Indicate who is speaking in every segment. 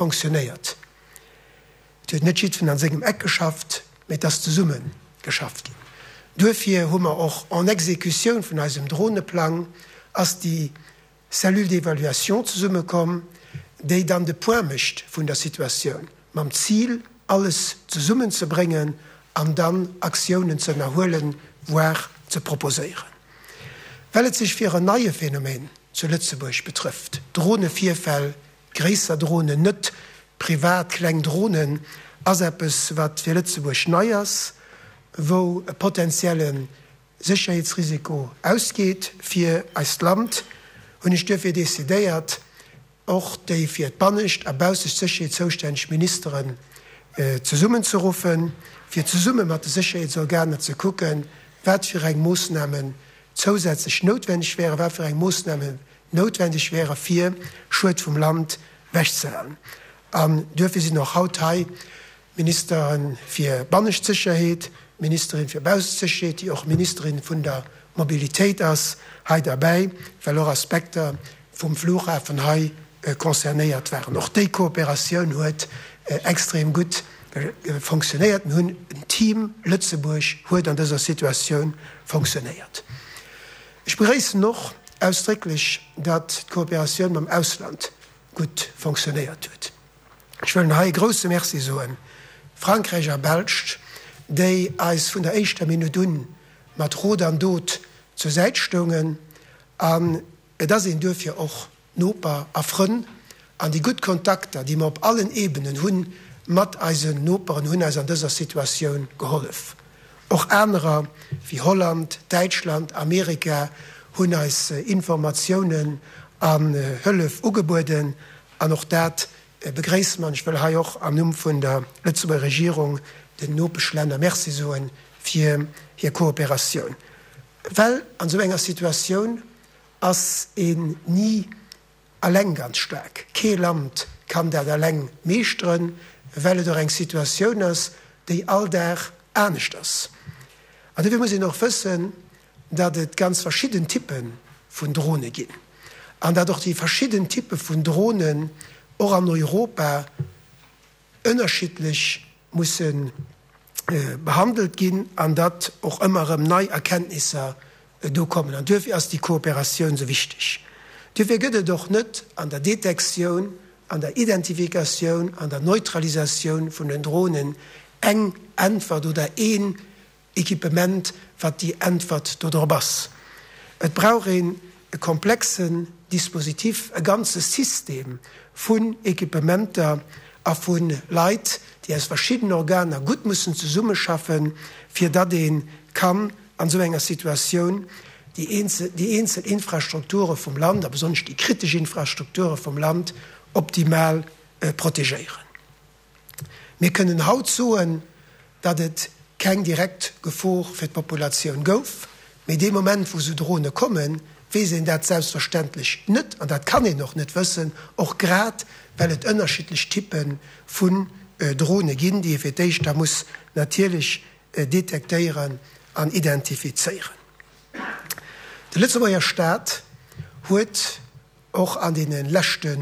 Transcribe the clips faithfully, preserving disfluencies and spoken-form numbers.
Speaker 1: Fonctionnéiert. Et huet net jiddwen an sengem Eck geschafft, mee et ass zesumme geschafft ginn. Duerfir hu mer och en Exécutioun vun eisem Droneplang ass déi Cellule d'évaluation zesummekomm, déi dann de Point mécht vun der Situatioun, mam Zil, alles zesummenzebréngen an dann Aktiounen ze ënnerhuelen, voire ze proposéieren. Well et sech fir en neie Phänomen zu Lëtzebuerg betrëfft, Dronevirfäll, gréisser Dronen, net privat kleng Dronen, ass eppes, wat fir Lëtzebuerg nei ass, wou e potenzielle Sécherheetsrisiko ausgeet fir eist Land, hunn ech duerfir decidéiert, och déi fir d'bannescht a baussecht Sécherheet zoustänneg Ministeren zesummenzeruffen, fir zesumme mat de Sécherheetsorganer ze kucken, wat fir eng Moossnamen zousätzlech noutwenneg wären, wat fir eng Moossnamen noutwendeg wäre fir Schued vum Land wechzehalen. An duerfir sinn och haut hei d'Ministere fir bannescht Sécherheet, d'Ministerin fir baussecht Sécherheet, déi och Ministerin vun der Mobilitéit ass, hei derbäi, well och Aspekter vum Flughafen hei concernéiert waren. Och déi Kooperatioun huet extrem gutt fonctionnéiert. Mir hunn en Team Lëtzebuerg huet an dëser Situatioun fonctionnéiert. Ech begréissen och ausdrécklech, datt d'Kooperatioun mam Ausland gutt fonctionnéiert huet. Ech wëllen hei e grouse Merci soen Frankräich a Belsch, déi eis vun der éischter Minutt un mat Rot an Dot zur Säit stoungen. An et ass een duerfir och Noper a Frënn. An déi gutt Kontakter, déi mer op allen Ebenen hu mat eisen Noperen, hunn eis an dëser Situatioun gehollef. Och anerer wéi Holland, Däitschland, Amerika hunn eis Informatiounen an Hëllef ugebueden. An och dat begréisse mer. An ech wëll hei och am Numm vun der Lëtzebuerger Regierung den Nopeschlänner Merci soe fir hir Kooperatioun. Well an esou enger Situatioun ass een ni alleng ganz staark. Kee Land kann dat alleng meeschteren, well et och eng Situatioun ass, déi all Dag anescht ass. An dofir muss een och wëssen, datt et ganz verschidden Typpe vun Drone ginn an datt och déi verschidden Typpe vun Dronen och an Europa ënnerschiddlech musse behandelt ginn an datt och ëmmer erëm nei Erkenntnisser do kommen. An duerfir ass déi Kooperatioun esou wichteg. Duerfir gëtt et och net an der Detektioun, an der Identifikatioun, an der Neutralisatioun vun den Dronen eng Äntwert oder een Equipement, wat déi Äntwert dodrop ass. Et brauch een e komplexen Dispositif, e ganze System vun Equipementer a vu Leit, déi aus verschiddenen Organer gutt mussen zesummeschaffen, fir datt ee kann an esou enger Situatioun déi eenzel, déi eenzel Infrastrukture vum Land, a besonnesch déi kritesch Infrastrukture vum Land, optimal protegéieren. Mir kënnen haut soen, datt et keng direkt Gefor fir d'Populatioun gouf, mee dee Moment, wou esou Drone kommen, weess een dat selbstverständlech net an dat kann een och net wëssen, och grad well et ënnerschiddlech Typpe vun Drone ginn, déi ee fir d'éischt da muss natierlech detektéieren an identifizéieren. De Lëtzebuerger Staat huet och an deene leschte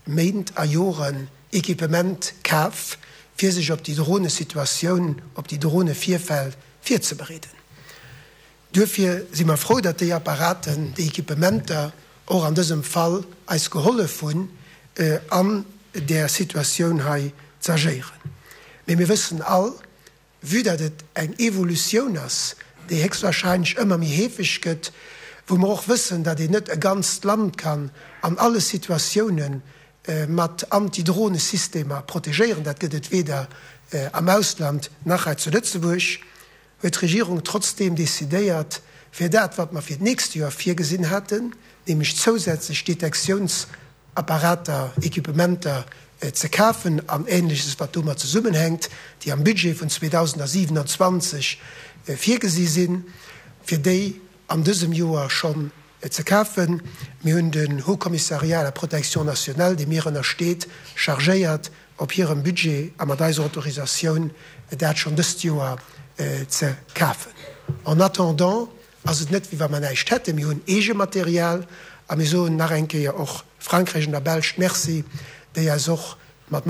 Speaker 1: Méint a Joren Equipement kaf, fir sech op déi Dronesituatioun, op déi Dronevirfäll virzebereeden. Duerfir si mer frou, datt déi Apparaten, déi Equipementer och an dësem Fall eis gehollef hunn, an där Situatioun hei ze agéieren. Mee mir wëssen all, vue datt et eng Evolutioun ass, déi héchstwahrscheinlech ëmmer méi heefeg gëtt, wou mer och wëssen, datt een net e ganzt Land kann an alle Situatioune mat Anti-Drohne-Systemer protegéieren, dat gëtt et weder am Ausland nach hei zu Lëtzebuerg, huet d'Regierung trotzdeem decidéiert, fir dat, wat mer fir d'nächst Joer virgesinn haten, nämlech zousätzlech Detektiounsapparater, Equipementer ze kafen an Ähnleches, wat domat zesummenhänkt, déi am Budget vun zweedausendsiewenundzwanzeg virgesi sinn, fir déi an dësem Joer schonn ze kafen. Mir hunn den Haut Commissariat à la protection nationale, dee mir ënnersteet, chargéiert, op hirem Budget a mat eiser Autorisatioun dat schonn dëst Joer ze kafen. En attendant ass et net, wéi wa mer näischt hätten. Mir hunn eege Material a mir soen nach eng Kéier och Frankräich an der Belsch Merci, déi eis och